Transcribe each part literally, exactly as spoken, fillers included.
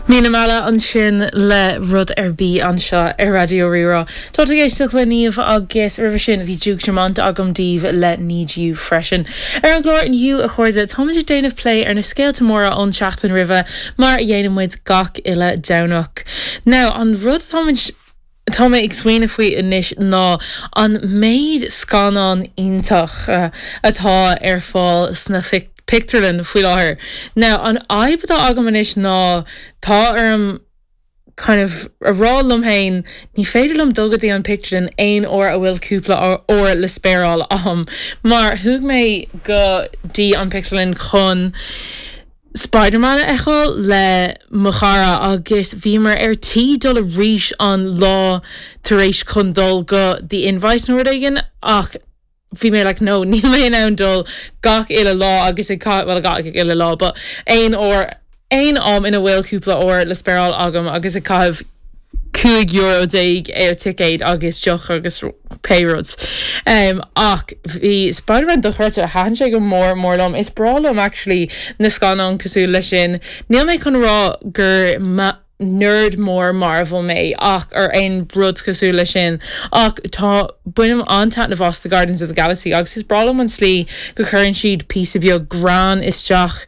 Míle Mala ansin le rud ar bith anseo ar Raidió Rí-Rá. Tá ag éisteacht le Niamh agus roimhe sin bhí Duke Dumont agam daoibh le Need You freisin. Ar an gclár inniu a chairde táimid ag déanamh plé ar na scéalta móra ón seachtain roimhe mar a dhéanann muid gach uile Domhnach. Now an rud táimid Tá mé ag smaoineamh faoi anois ná an méid scannán iontach uh, atá ar fáil sna pictiúrlanna faoi láthair. Now an fhadhb atá agam anois ná tá orm kind of a rá liom féin ní féidir liom dul go dtí an pictiúrlann aon uair a bhfuil cúpla uair le spéireáil agam mar chuaigh mé go dtí an pictiúrlann chun Spider-Man a fheiceáil le mo chara agus bhíomar ar tí dul arís an lá tar éis chun dul go The Invite nó rud éigin ach bhí mé like no níl mé in ann dul gach uile lá agus ag well gach uile lá, but aon uair aon am ina bhfuil cúpla uair le spéireáil agam agus ag caitheamh cúig euro déag ar ticéad agus deoch agus pé rud. Um, ach bhí Spider-Man dochreidte thaitin sé go mór mór liom is breá liom actually na scannáin cosúil leis sin. Níl mé chun rá gur nerd mór Marvel mé ach ar aon rud cosúil leis sin ach tá bainim an-taitneamh as the Guardians of the Galaxy agus is breá liom an slí go gcuireann siad píosa beag greann isteach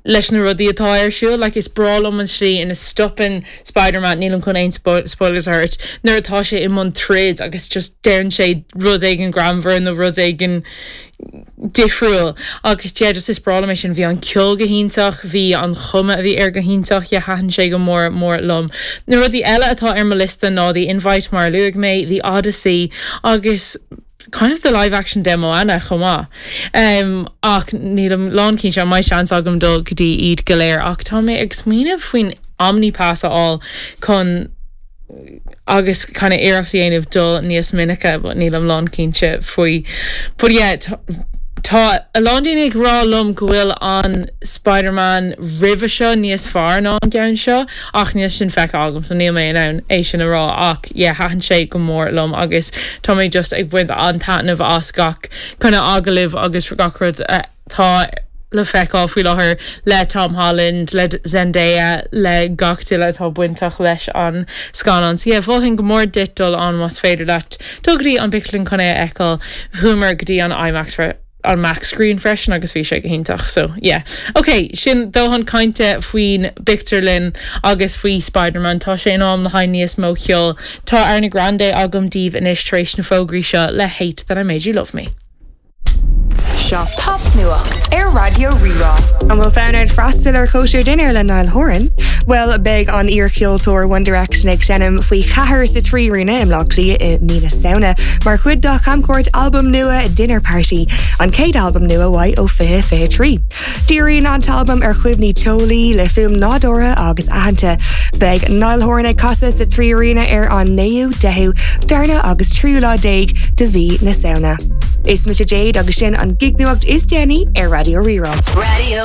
leis na rudaí atá ar siúl, like is breá liom an slí ina stopann Spider-Man nílim chun aon spoilers ort nuair atá sé i mbun troid agus just deireann sé rud éigin greannmhar nó rud éigin difriúil agus yeah, just is breá liom sin bhí an ceol go hiontach bhí an chuma a bhí air go hiontach yeah thaitin sé go mór mór liom. Na rudaí eile atá ar mo liosta ná The Invite mar luaigh mé, The Odyssey agus kind of the live action de Moana chomh maith. Um, ach nílim lánchinnte an mbeidh seans agam dul go dtí iad go léir ach tá mé ag smaoineamh faoin Omnipass a fháil chun agus kind of iarracht a dhéanamh dul níos minice but nílim lánchinnte faoi. But yeah, Tá a lán daoine ag rá liom go bhfuil an Spider-Man roimhe seo níos fearr ná an ceann seo ach níl sin feicthe agam so níl mé in ann é sin a rá ach yeah, thaitin sé go mór liom agus tá mé just ag baint an-taitneamh as gach kind of agallamh agus gach rud atá le feiceáil faoi láthair le Tom Holland, le Zendaya, le gach duine atá bainteach leis an scannán. So yeah, mholfainn go mór duit dul ann más féidir leat dul go dtí an pictiúrlann chun é a fheiceáil chuamar go dtí an IMAX an IMAX screen freisin agus bhí sé go hiontach so yeah. Ok, sin dóthain cainte faoin bpictiúrlann agus faoi Spider-Man tá sé in am le haghaidh níos mó ceoil Tá Ariana Grande agam daoibh anois tar éis na fógraí seo le Hate that I made you love me. Seo Popnuacht ar Raidió Rí-Rá. An bhfuil fonn ort freastal ar chóisir dinnéir le Niall Horan? Well beidh an iarcheoltóir One Direction ag seinm faoi cheathair sa Trí Aréna i mBaile Átha Cliath i mí na Samhna, mar chuid dá chamchuairt albam nua Dinner Party, an chéad albam nua uaidh ó fiche fiche trí. Díríonn an t-albam ar chuimhní teolaí le fuaim nádúrtha agus aitheanta. Beidh Niall Horan ag casadh sa Trí Aréna ar an naoú deichiú darna agus tríú lá déag de mhí na Samhna. Is mise Jade agus sin an gignuacht is déanaí ar Raidió Rí-Rá. Radio